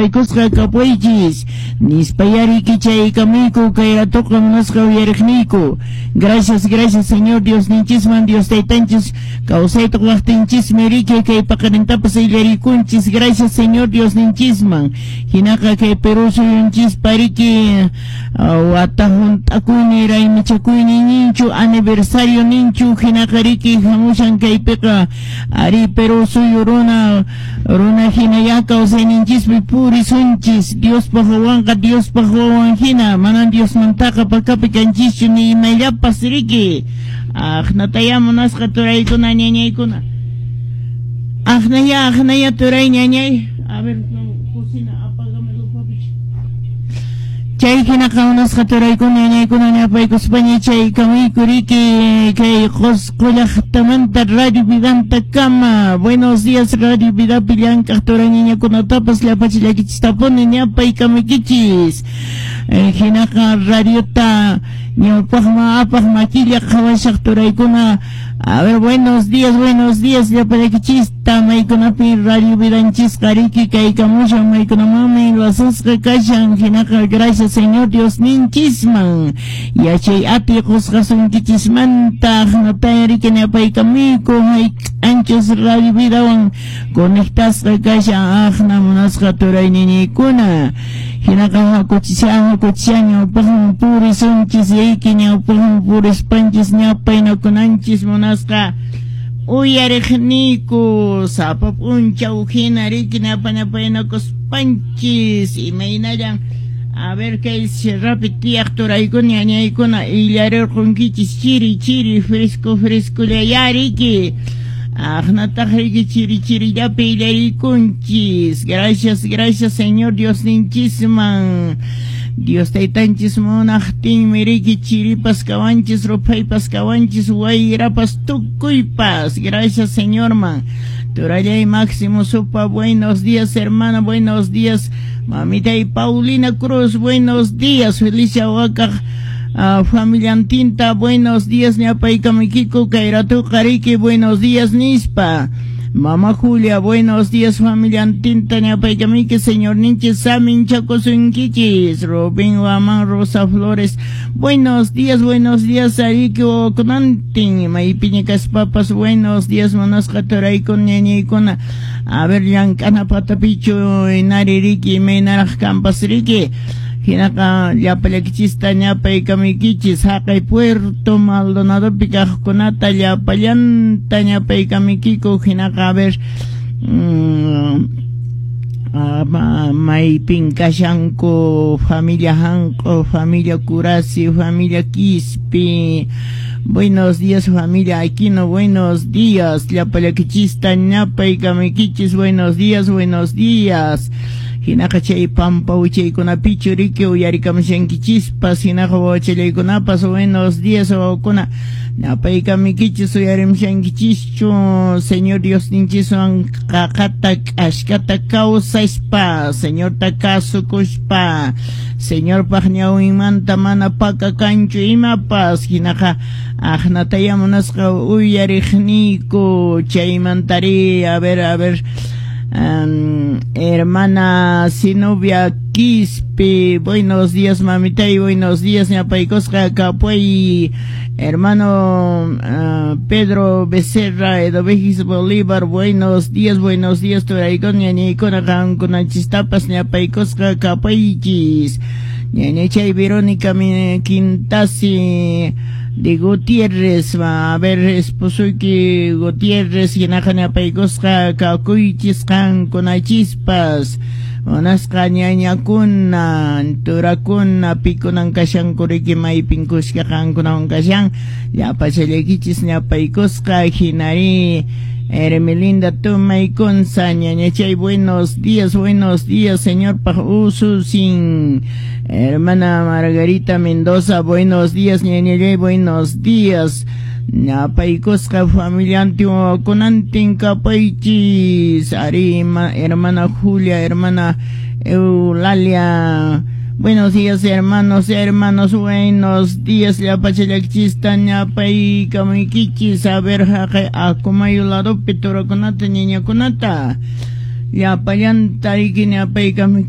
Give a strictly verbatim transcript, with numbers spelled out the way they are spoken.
ñapaykusqa kapuychis nispa yariki chaykamuyku kay ratuqa munasqa uyariqniyku. Gracias, gracias, Señor Dios ninchisman, Dios taytanchis kawsayta waqtinchismi riki kay paqarintapas illarikunchis. Gracias, Señor Dios ninchisman. Hinaqa kay Perú suyunchis pariki wata hunt'akuyni raymichakuyni ninchu, aniversario ninchu, hinaqa riki hamushan kaypiqa ari Perú suyu runa runa hina ya kawsayninchispi purisunchis. Diospaq wawanqa Diospaq wawan hina, manan Diosmantaqa pakapi kanchischu ni imayllapas riki. Aqnataya munasqa turaykuna ñañaykuna. Aqnaya, aqnaya turay ñañay. A ver, cocina, apágamelo, papi. Chay hinaqa munasqa turaykuna ñañaykuna ñapaykuspaña chay kamuyku riki kay Qosqo llaqtamanta Radio Vidanta kama. Buenos días, Radio Vidapi llank'aq turay ñañakunatapas llapachillakichistapuni ñapaykamukichis. Hinaqa radiota ñawpaqman apaq makilla qhawashaq turaykuna. A ver, buenos días, buenos días, llapallakichista maykunapi Radio Vidanchisqa riki kaykamushan maykunamanmi lasasqa kashan. Hinaqa gracias, Señor Dios ninchisman yachay atiy qusqasunkichismanta. Aqnataya riki ñapaykamuyku hayk'anchus Radio Vidawan conectasqa kashan aqna munasqa turay ñañaykuna. Hinaqa hakuchisha hakuchisha ñawpaqman purisunchis yayki ñawpaqman purispanchis ñapaynakunanchis munasqa uyariqniyku sapa p'unchaw hina riki ñapanapaynakuspanchis imaynallan. A ver, kay sierrapi tiyaq turaykuna ñañaykuna illarirqunkichis chiri chiri fresco fresco riki. Aqnataq riki chiri chirillapi illarikunchis. Gracias, gracias, Señor Dios ninchisman. Dios taytanchis munaqtinmi riki chiripas kawanchis, ruphaypas kawanchis, wayrapas tukuypas. Gracias, Señorman. Turallay Máximo Supa, buenos días, hermana, buenos días. Mamita y Paulina Cruz, buenos días. Felicia Huaca, uh, familiantinta, buenos días. Ñapaykamikiko, kayratu qariki, buenos días, nispa. Mamá Julia, buenos días, familiantinta, ñapaykamiki, señor ninchis, samin chakusunkichis. Rubén Guamán, Rosa Flores, buenos días, buenos días, ariki okunantin, maypiña kaspapas, buenos días, munasqa turaykuna, ñañaykuna. A ver, llank'ana patapichu, inari riki, imaynaraq kampas riki. Hinaqa llapallakichista ñapaykamuykichis haqay Puerto Maldonadopi kaqkunata llapallanta ñapaykamuykiku. Hinaqa a ver, mmm, maypin kashanku familia Hanqo, familia Curasi, familia Quispe. Buenos días, familia Aquino, buenos días. Llapallakichista ñapaykamuykichis, buenos días, buenos días. Hinaqa chay pampa wichaykunapichu riki uyarikamushankichispas. Hinaqa wawachallaykunapas, buenos días, wawakuna. Ñapaykamuykichis uyarimushankichischu Señor Dios ninchiswan qaqata k'ashkata kawsaspa, Señorta kasukuspa, Señorpaq ñawinmanta mana paka kanchu imapas. Hinaqa aqnataya munasqa uyariqniyku chaymantari. A ver, a ver, Um, hermana Zenobia Quispe, buenos días, mamita, y buenos días, ñapaykusqa kapuy. Hermano uh, Pedro Becerra, Edovegis Bolívar, buenos días, buenos días, turaykuna, ñañaykuna, qamkunachistapas ñapaykusqa kapuychis. Ñañachay Verónica Quintasi de Gutiérrez, a ver, esposoyki Gutiérrez, hinaqa ñapaykusqa kakuychis qamkunachispas. Munasqa ñañakuna, turakuna, pikunan kashanku riki maypin kuska qamkunawan kashan, llapachallaykichis ñapaykusqa. Hinari Hermelinda Tumaykunza, ñañachay, buenos días, buenos días, señor ususin. Hermana Margarita Mendoza, buenos días, ñañachay, buenos días. Ñapaykusqa familiantin wawakunantin kapaychis. Ari, hermana Julia, hermana Eulalia, buenos días, hermanos, hermanos, buenos días, llapachallakchista ñapaykamuykichis. A ver, haqay akumayu ladopi turakunata ñañakunata llapallanta riki ñapaykamuykichis.